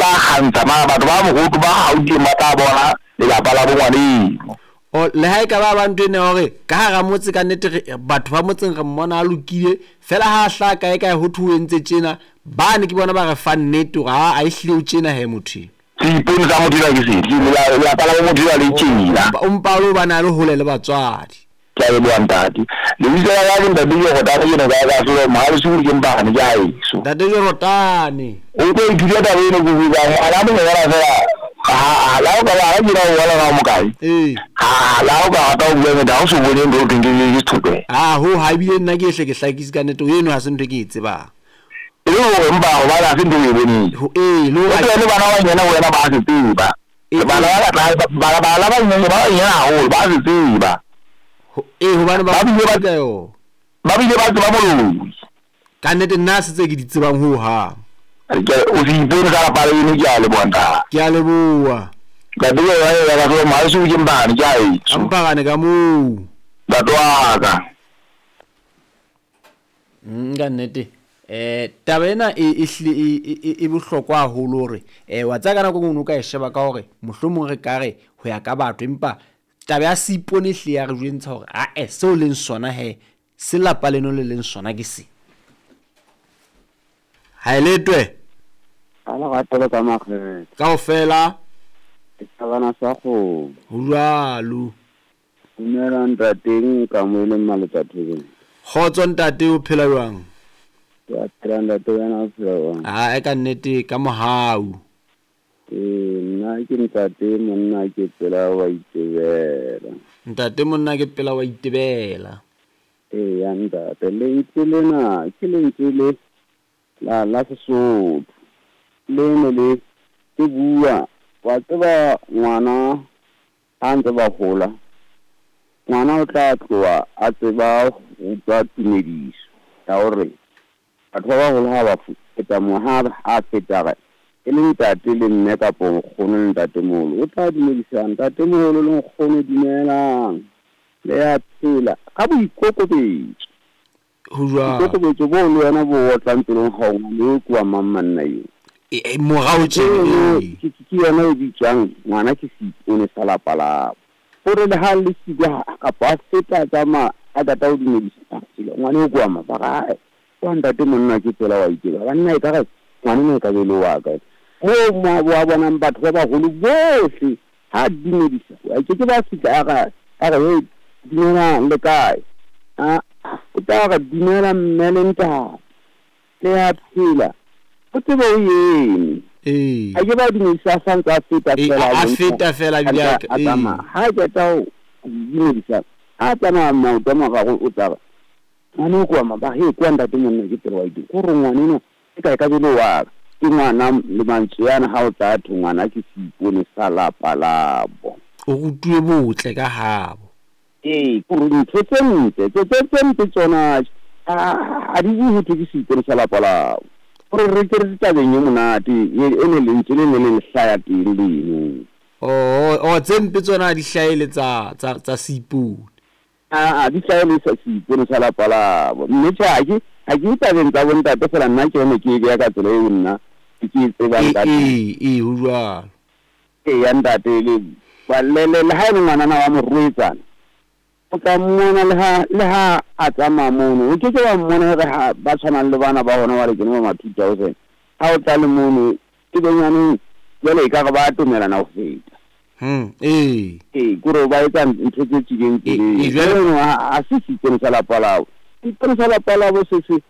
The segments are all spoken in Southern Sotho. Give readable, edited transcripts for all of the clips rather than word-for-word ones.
tla kgantsha mara batho ba mohoto ba Gauteng ba tla bona lelapa la bo ngwaneno. O, le ha e ka ba ba ntho ena ya hore ka hara motse ka nnete re, batho ba motseng re mmona a lokile, fela ha a hlaha kae kae ho thwe o entse tjena, bane ke bona ba re fang nnete hore aa ehlile o tjena he motho enwa. Seipone sa motho enwa ke sefe? Lelapa la bo motho enwa le tjena. O mpa o le hobane a le hole le batswadi. Ke a leboha ntate. Lebitso la ka ke ntate Jorotane ke ne ka ka selo Mohalesoku ke Mpane ke haeso. Ntate Jorotane. O tlo ithuta taba eno ke bua ngwana monyenyana fela ha la o ka ba ha ke na o bona na o mokae. Ee. Ha la o ka rata ho bua nnete ha o so bone ntho o thweng ke ke sethokela. Ha ho ha ebile nna ke hle ke hlakise ka nnete eno ha se ntho e ke e tsebang. E le hore mpa hobane ha se ntho o e boneng. Ho ee le O hore tsebe le bana ba banyane ho wena ba se tseba. Bana ba ka tlase bana bana ba banyenyane ba banyenyane haholo ba se tseba. Ee hobane ba Ba bile ba ka yona. Ba bile ba tseba moloi. Ka nnete nna ha se tse ke di tsebang ho hang. Ke o se ipone ka lapa leno ke a leboha ntate. Ke a leboha. Ntate ke yona ya ka selo mohaeso ke Mpane ke haeso. Ka Mpane ka moo. Ntate wa ka. Ka nnete um taba ena e hlile e bohlokwa haholo hore um wa tseba ka nako e nngwe o ka e sheba ka hore mohlomong re ka re ho ya ka batho empa taba ya seipone e hlile ya re jwentsha hore ae seo leng sona he se lapa leno le leng sona ke se. Ha e letwe. Ka lerato le ka makgethe. Kaofela. Setjhabana sa kgomo. Ho jwalo. Dumela ntate Nkamoeleng Maletsa Thobeng. Kgotso ntate o phela jwang? Ke a phela ntate wena o phela jwang? Ae ka nnete ka mohau. Ee nna ke ntate monna ke pela wa itebela. Ntate monna ke pela wa itebela. Eya ntate lentswe lena ke lentswe le la la Sesotho le ne le le bua wa tseba ngwana ha ntse ba hola ngwana o tla tloha a tseba ho utlwa tumediso ya hore batho ba baholo ha ba feta mo ha a feta re e le ntate le mme kapo nkgono le ntatemoholo o tla dumedisa ntatemoholo le nkgono dumelang le ya phela ka boikokobetso. Ho jwalo. Boikokobetso boo le wena bo otlang pelong ga o ngwana eo ke wa mang manna eo. E, morao tjena. Ke yona e bitswang ngwana ke seipone sa lapa labo. Hore le ha le siko kapa a feta a tsamaya a qeta ho dumedisa ngwana eo ke wa mang ba re ae wa ntate monna ke tsela wa iteba banna e ka re ngwana ena e ka be le wa ka. Moo mo wa bonang batho ba baholo bohle ha dumedisa a ke ke ba fihla a re a re hey dumelang le kae a o tla re dumela mme le ntate le ya phela o tsebe o eme. Ee. A ke ba dumedisa a santse a feta Ee, fela a feta fela ebile a a tsamaya. Ha a qeta ho dumedisa a tsamaya maoto a mararo o tla re ngwana o kwa ma ba he kwa ntate monna ke tsela wa itse ko re ngwana eno e kae ka bele wa ka ke ngwana le mantswe ana ha o tla thwe ngwana ke seipone sa lapa labo. O rutuwe botle ka habo. Ee, ke hore ntho tse ntle tse tse tse mpe tsona ha di bue ho thwe ke seipone sa lapa labo. Hore re ke re tabeng e monate e ne lentswe le ne le hlaya teng leno. Oh, oh, tse mpe tsona ha di hlahele tsa tsa tsa seipone. Aa di hlahele sa seipone sa lapa labo. Mme tjhe ha ke ha ke tabeng tsa bontate fela nna ke yone ke e beha ka tsela eo nna ke e tsebang ka teng. Ee, ee, ho jwalo. Eya ntate le le le ha e le ngwanana wa morwetsana o tla mmona le ha le ha a tsamaya mono o ke ke wa mmona hore ha ba tshwanang le bana ba hona ba re ke ba ma 2000 ha o tla le mono e benyaneng jwale e ka re ba atomelana ho feta. Ee. Ee, kore ba etsa ntho tse tswileng Ee, tseleng. jwale Jwale ha se seipone sa lapa labo. Seipone sa lapa labo se se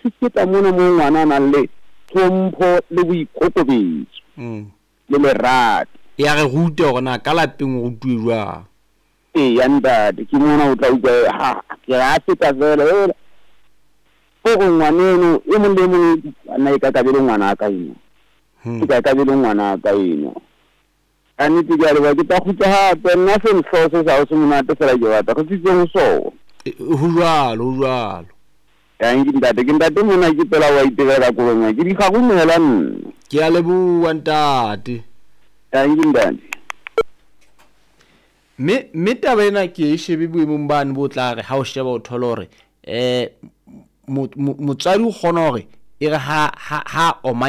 se feta mona moo ngwana a nang le tlhompho le boikokobetso le lerato. Ya re rute hore na ka lapeng o rutuwe jwang. Eya ntate ke mona o tla utlwa ha ke re a feta fela hela hore ngwaneno e mong le e mong nna e ka ka be le ngwana ka eno. E ka ka be le ngwana ka eno. Ka nnete ke a leboha ke tla kgutla hape nna senhlo se sa ho se monate fela ke batla re tsitseng ho sona. Ho jwalo, ho jwalo. Tanki ntate ke ntate mona ke pela wa itebela ka kolong ke di kgarumela nna. Ke a leboha ntate. Tanki ntate. Mme mme taba ena ke e shebe boemong bane bo tla re ha o sheba o thole hore motswadi o kgona hore e re ha ha ha omanya